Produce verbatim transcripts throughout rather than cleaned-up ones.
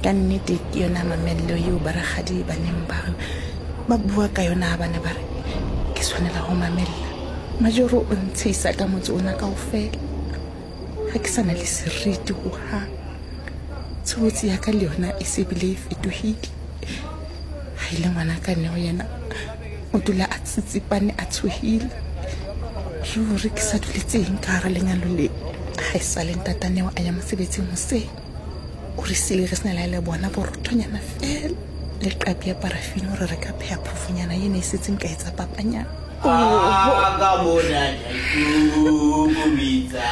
Ka nnete ke yona mamello eo barakgadi ba neng ba re ba bua ka yona ha ba ne ba re ke tshwanela ho mamella. Majoro o ntshehisa ka motse ona kaofela. Ha ke sa na le seriti hohang. Tshobotsi ya ka le yona e se bile e fetohile. Ha e le ngwana ka Neo yena o dula a tsitsipane a tshohile. Ruri ke sa duletseng ka hara lenyalo le. Ha e sa le ntata Neo a ya mosebetsing hoseng. O re siile re sena le ha e le bona borothonyana feela le qabi ya parafini hore re ka pheha phofonyana ena e setseng ka etsa papanyana. A ka mona la ikokobetsa.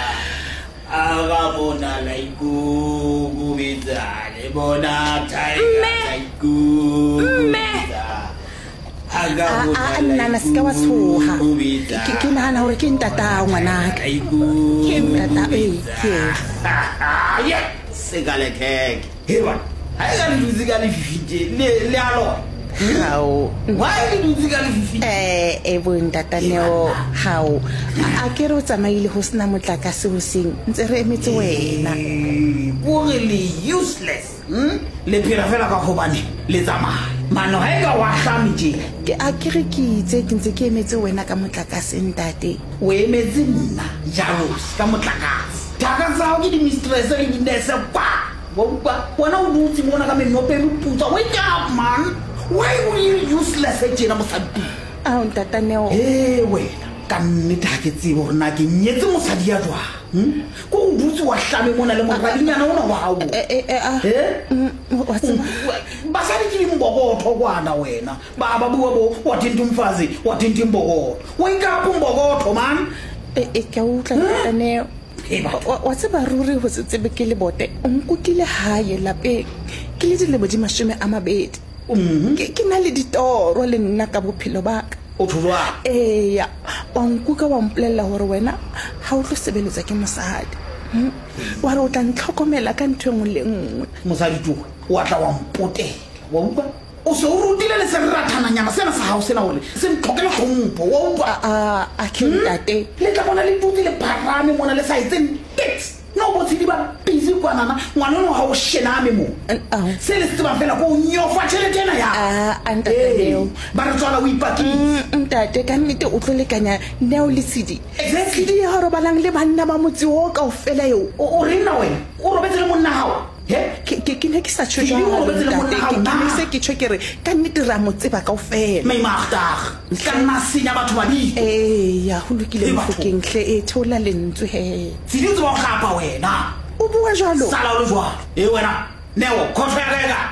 A ka mona la ikokobetsa. Le bona tiger Mme! la ikokobetsa. A ka A mona a la nnana se ka wa tshoha. ikokobetsa. Ke ke nahana hore ke ntata ngwanaka. La Ke ntata ee ikokobetsa. ke eo. Ye, se ka lekheke. He bana, ha e ka le dutse ka lefifi tje, le le a lora. Hao. Why le dutse ka lefifi? Eh e bo ntata Neo hao. A a ke re o tsamaile ho sena motlakase hoseng ntse re emetse wena. Eh, kore le useless hmm? Le phela fela ka gobane le tsamaya mano ha e ka wa hlame tje. Ke a ke re ke itse ke ntse ke emetse wena ka motlakase ntate. O emetse nna Jaros ka motlakase. Thaka tsa hao ke di-mistress le di-nurse kwa. Wa utlwa? Wena o dutse mona ka menoto e meputswa. Wake up, man. Why o le useless tjena mosadi? Ao ntata Neo. He wena, ka nnete ha ke tsebe hore na ke nyetse mosadi ya jwang. Hmm? Ko o dutse wa hlame mona le moradinyana ona wa hao. Eh eh eh ah. Eh? Mm, wa tseba. Basadi ke dimbokotho kwana wena. Ba ba bua bo wa thinta umfazi, wa thinta imbokotho. Wake up umbokotho, man. Eh eh ke a utlwa ntata Neo. He batho. Wa wa tseba ruri ho se tsebe ke lebote. O nkukile hae lapeng. Ke le dilemo di mashome a mabedi. Mhm. Ke ke na le ditoro le nna ka bophelo ba ka. O tho jwang? Eya, wa nkuka wa mpolella hore wena ha o tlo sebeletswa ke mosadi. Hmm? Wa re o tla ntlhokomela ka ntho e nngwe le nngwe. Mosadi towe, wa tla wa mpotela. Wa utlwa? O se o rutile le serathananyana sena sa hao sena hore se ntlhokele hlompho. Wa utlwa? A a a ke ntate. Le tla bona le dutse le pharame mona le sa etseng niks. No bo tshedi ba busy kwanana, ngwana ono ha o shename mo. Ao. Se le se tsebang fela ko o nyofa tjhelete ena ya. A a ntate Ee, Neo. ba re tswala o ipakile. Mm, ntate ka nnete o tlo lekanya Neo le Tshidi. Exactly. Tshidi ya robalang le banna ba motse o kaofela eo. O o reng na wena? O robetse le monna hao? He? Ke ke ke ne ke sa tjho Tshidi o jwalo robetse le monna ntate. hao Ke ke ne na? se ke tjho ke re ka nnete re a mo tseba kaofela. Meimaagdag. Ka nna senya batho ba bitso. Eya, ho lokile Ee, batho. Mofokeng hle e theola lentswe he. Tshidi o tseba ho hlapa wena. O bua jwalo? Sala o le jwalo. E wena, Neo, khotho ya ka e kae?